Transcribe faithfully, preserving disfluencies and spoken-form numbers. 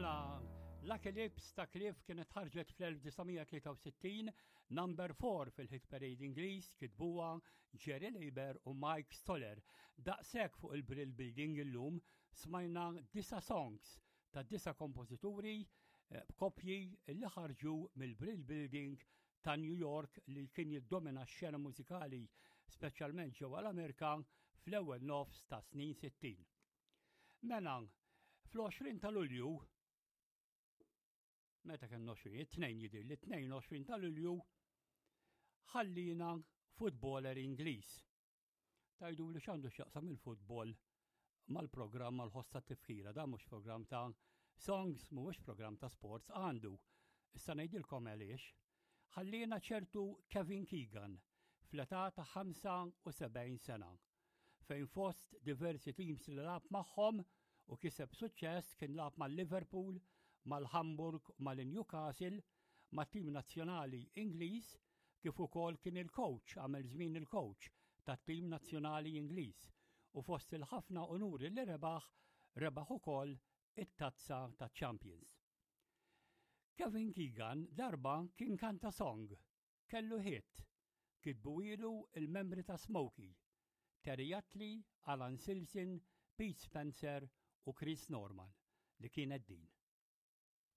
Mela, Lucky Lips ta' Cliff kienet ħarġet fl-elf disa' mija tlieta u sittin, number four fil-hit parade Ingliż, kitbuha Jerry Leiber u Mike Stoller. Daqshekk fuq il-Brill Building illum. Smajna disa' songs ta' disa' kompożituri eh, b'kopji li ħarġu mill-Brill Building ta' New York li kien jiddomina x-xena mużikali, speċjalment ġewwa l-Amerika, fl-ewwel nofs ta' snin sittin. Mela, fl-għoxrin ta' Lulju, meta kien għoxrin, it-tnejn jidir li tnejn u għoxrin ta' Lulju, ħallina futboler Ingliż. Tgħidu li x'għandu x'jaqsam il-futbol mal-programm mal-ħoss ta' tifkira? Dan mhux programm ta' songs, mhuwiex programm ta' sports. Għandu. Issa ngħidilkom għaliex. Ħallina ċertu Kevin Keegan fl-età ta' ħamsa u sebgħin sena, fejn fost diversi teams li lagħab magħhom u kiseb suċċess kien lagħab mal-Liverpool, mal-Hamburg, mal-Newcastle, mat-tim nazzjonali Ingliż, kif ukoll kien il-coach, għamel żmien il-coach tat-tim nazzjonali Ingliż u fost il-ħafna onuri li rebaħ, rebaħ ukoll it-tazza ta' Champions. Kevin Keegan darba kien kanta song, kellu hit, kitbuhielu il-membri ta' Smokie, Terry Attlee, Alan Silson, Pete Spencer u Chris Norman, li kienet din.